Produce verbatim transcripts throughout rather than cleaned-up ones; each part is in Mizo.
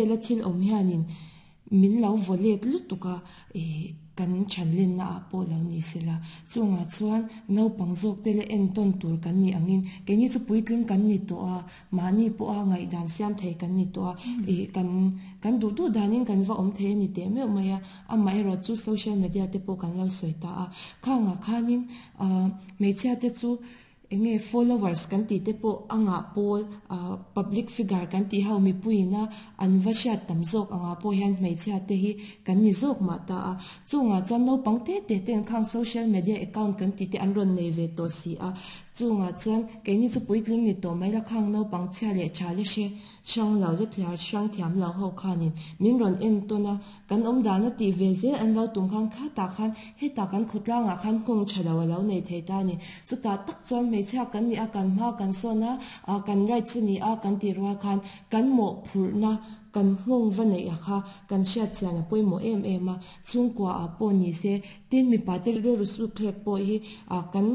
Hela thil awm hianin min lo vaw let lutuk a, ih kan thanlenna ah pawh lo ni sela. Chungah chuan naupang zawk te la entawn tur kan nih angin keini chu puitling kan ni tawh a, mahni pawha ngaihdan siam thei kan ni tawh a, ih kan kan duh duh danin kan va awm thei a ni teh meuh mai a. Amaherawh chu social media te pawh kan lo sawi ta a, khangah khanin ah hmeichhia te chu enge followers kan tih te pawh a ngah pawl ah public figure kan tih ho mipuiin a an va hriat tam zawk angah pawh hian hmeichhia te hi kan ni zawk mah ta a. Chungah chuan naupang te te ten khang social media account kan tih te an rawn nei ve tawh si a. Chungah chuan keini chu puitling ni tawh mai la khang naupang chhia leh tha le hre hrang lo le thliar hrang thiam lo ho khanin min rawn en tawn a, kan awm dan a tih ve zel an lo tum khan khatah khan hetah kan khawtlangah khan nghawng tha lo a lo nei thei ta a ni. Chutah tak chuan hmeichhia kan nih a, kan hma kan sawn a, ah kan rights a ni a kan tih rual khan kan mawhphurhna kan nghawng va neih a kha kan hriat chian a pawimawh em em a. Chhungkua ah pawh ni se, tin mipa te rilru suk thlek pawh hi ah kan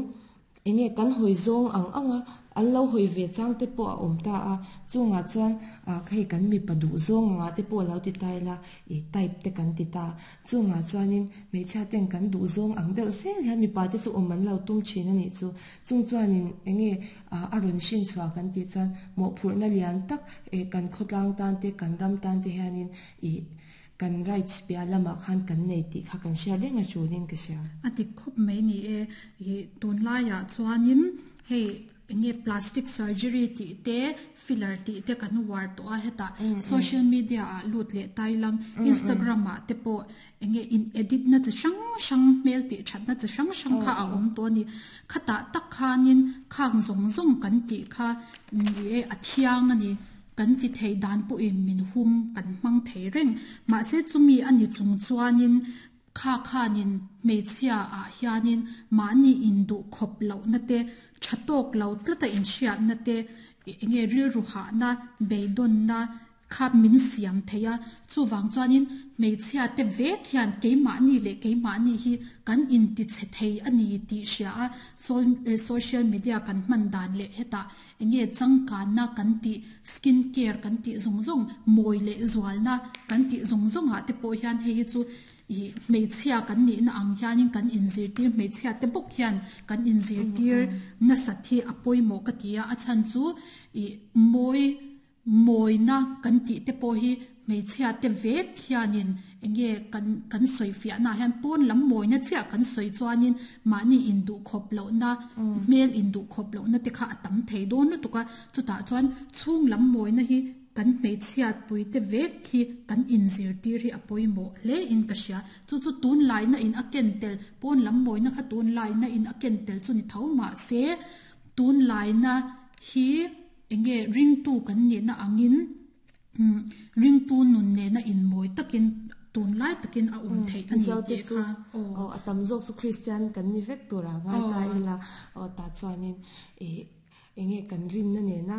enge kan hawi zawng ang ang a, an lo hawi ve chang te pawh a awm ta a. Chungah chuan ah hei kan mipa duh zawng angah te pawh lo ti ta ila, ih type te kan ti ta. Chungah chuanin hmeichhia ten kan duh zawng ang deuh zel hian mipa te chu awm an lo tum thin a nih chu. Chung chuanin enge ah a rawn hrin chhuah kan tih chuan mawhphurhna lian tak eh kan khawtlang tan te kan ram tan te hianin ih kan rights piah lamah khan kan nei tih kha kan hriat reng a tulin ka hria. A dik khawp mai ni e. Ih tunlaiah chuanin hei enge plastic surgery tih te filler tih te kan uar tawh a, hetah social media ah lut leh tailang Instagram ah te pawh enge in edit na chi hrang hrang hmel tih that na chi hrang hrang kha a awm tawh a ni. Khatah tak khanin khang zawng zawng kan tih kha ni e a thiang a ni. Kan ti thei dan pawhin min hum kan hmang thei reng. Mahse chumi a ni chung chuanin kha khanin hmeichhia ah hianin mahni induh khawp lohna te, tha tawk lo tlata inhriatna te, enge rilru hahna, beidawnna kha min siam thei a. Chuvang chuanin hmeichhia te vek hian keimahni leh keimahni hi kan intichhe thei a ni tih hria a. Social media kan hman dan leh hetah enge changkanna kan tih, skin care kan tih zawng zawng, mawi leh zualna kan tih zawng zawngah te pawh hian hei hi chu ih hmeichhia kan nihna ang hianin kan inzirtir, hmeichhia te bawk hian kan inzirtir nasat hi a pawimawh ka ti a. A chhan chu ih mawi mawina kan tih te pawh hi hmeichhia te vek hianin enge kan kan sawi fiahnaah hian pawn lam mawina chiah kan sawi chuanin mahni induh khawp lohna, hmel induh khawp lohna te kha a tam thei dawn lutuk a. Chutah chuan chhung lam mawina hi kan hmeichhia pui te vek hi kan inzirtir hi a pawimawh hle in ka hria. Chu chu tunlaina in a ken tel, pawn lam mawina kha tunlaina in a ken tel chu ni tho mahse tunlaina hi enge ringtu kan nihna angin ringtu nun nena inmawi takin tunlai takin a awm theih a ni tih kha. Aw a tam zawk chu Christian kan ni vek tur a ngai ta ila, aw tah chuanin ih enge kan rinna nena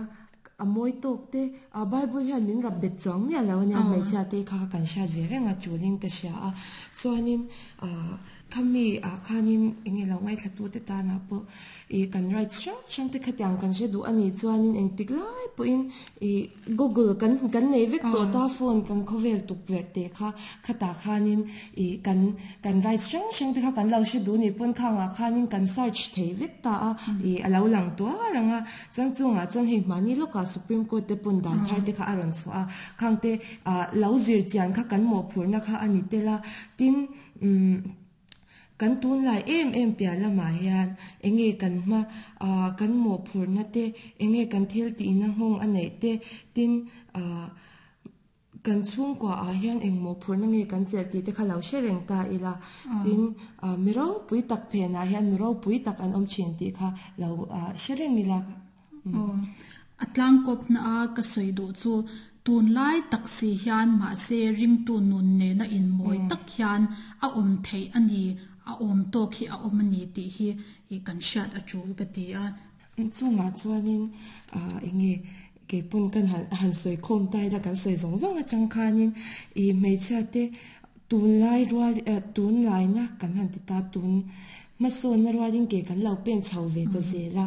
a mawi tawk te, a Bible hian min rap bet chuang miah lo a nia, hmeichhia te kha kan hriat ve reng a tulin ka hria a. Chuanin ah khami ah khanin enge lo ngaithla tu te tanah pawh ih kan rights hrang hrang te khatiang kan hre duh a nih chuanin engtik lai pawhin ih Google kan kan nei vek tawh ta, phone kan khawvel tukverh te kha khatah khanin ih kan kan rights hrang hrang te kha kan lo hre duh nih pawn khangah khanin kan search thei vek ta a, ih a lo lang tuar ang a. Chuan chungah chuan hei hmani lawkah Supreme Court te pawn dan thar te kha a rawn chhuah a, khang te ah lo zir chian kha kan mawhphurhna kha a ni tel a. Tin umm kan tunlai em em piah lamah hian enge kan hma ah kan mawhphurhna te, enge kan thil tihna nghawng a neih te, tin ah kan chhungkua ah hian eng mawhphurhna nge kan chelh tih te kha lo hre reng ta ila. Tin ah mi ropui tak phenah hian nu ropui tak an awm thin tih kha lo ah hre reng ila. Aw a tlangkawpna a ka sawi duh chu tunlai tak si hian mahse ringtu nun nena inmawi tak hian a awm theih a ni, a awm tawk hi a awm a ni tih hi ih kan hriat a tul ka ti a. Chungah chuanin ah enge keipawn kan han han sawi khawm ta ila, kan sawi zawng zawng atang khanin ih hmeichhia te tunlai rual eh tunlaina kan han ti ta, tun hmasawnna rualin ke kan lo pen chho ve ta zel a,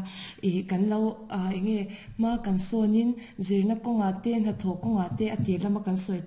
ih kan lo ah enge hma kan sawnin zirna kawngah te hnathawh kawngah te a tir lama kan sawi